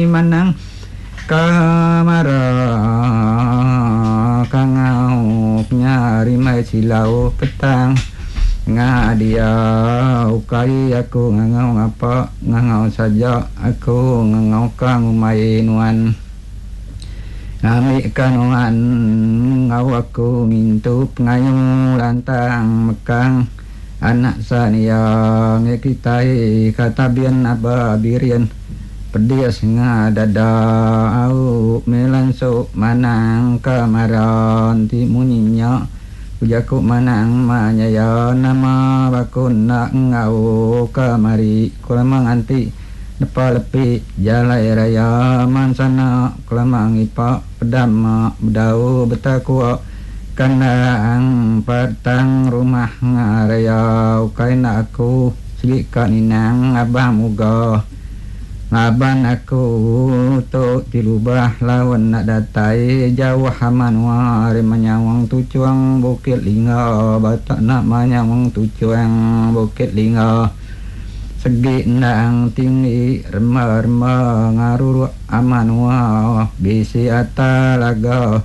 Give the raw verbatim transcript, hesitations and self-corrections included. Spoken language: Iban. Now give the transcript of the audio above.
Manang Kamara kangau nyari mai silau petang ngadia ukai aku ngangau ngapa ngangau saja aku ngangau ka ngumbai nuan ngambi ka nuan enggau aku ngintu pengayu lantang mekang anak sania ngi kitai ka tabin aba birin pedis ngadada au meh lansu manang kamara enti munyi nya. Ku jaku manang manyaya nama baku enda enggau kemari ku lama nganti nepa lepi jalai raya mansana ku lama ngipa peda ma bedau betakua kandang petang rumah ngaraya ukai enda aku sigi ka ninang abang muga. Laban aku tu ti lubah laun enda datai jauh menua ari menyawang tuchung Bukit Lingga batak enda menyawang tuchung Bukit Lingga segi endang tinggi rema-rema ngaruruk menua bisi ata laga.